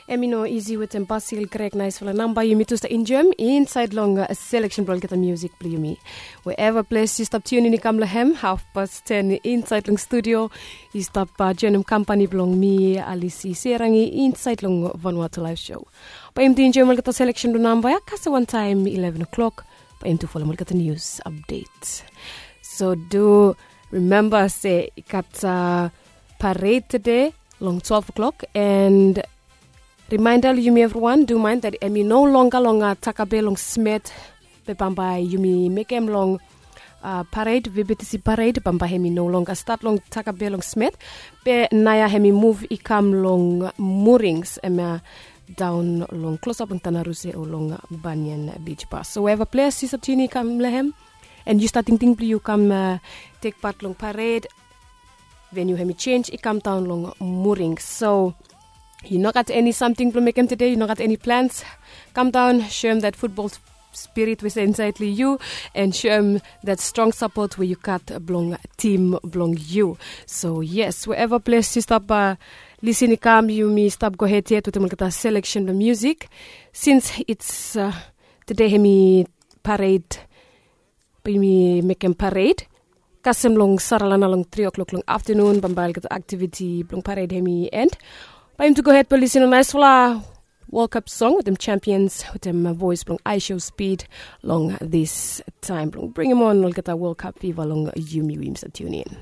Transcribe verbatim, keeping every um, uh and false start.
Em i no isi wetem Basil Greg, naisfala namba yumi tu stap enjoem insaed long seleksen blong olgeta musik blong yumi. Wherever ples yu stap tiunin i kam long hem, hafpas ten insaed long studio i stap joenem kampani blong mi, Alisi Serangi, insaed long Vanuatu Live Show. Bae yumi tu enjoem olgeta seleksen blong namba ya kasem wantaem ileven o'clock, bae yumi tu folem olgeta nius apdet. So do rimemba se i gat pared tede long twelve o'clock, and rimaenda long yumi evriwan, do maen dat em i no longer long Takabe long Smet, be bambae yumi mekem long pared, VBTC pared bambae hem i no longer stat long Takabe long Smet, be naoia hem i muv i kam long Murings, hemia daon long klosap long Tanaruse o long Banyan Beach Bar. So wherever ples yu stap tiunin i kam long hem, and yu stap tingting blong yu kam tek pat long pared, venu hem i jenj i kam daon long Murings. So yu no gat eni samting blong mekem tede, yu no gat eni plans, kam daon, soem dat futbol spirit we se insaed long yu, and soem dat strong sapot we yu gat blong tim blong yu. So yes, wherever ples yu stap lisin i kam, yumi stap gohed yet wetem olgeta seleksen blong musik. Since it's tede hem i pared, bae yumi mekem pared kasem long Saralana long tri o'clock long aftenun, bambae olgeta aktiviti blong pared hem i end. Bae yumi tu gohed blong lisin long naisfala World Cup song wetem Champions wetem voes blong Aisho Speed long this time blong bringim on olgeta World Cup fiva long yumi we yumi stap tiunin.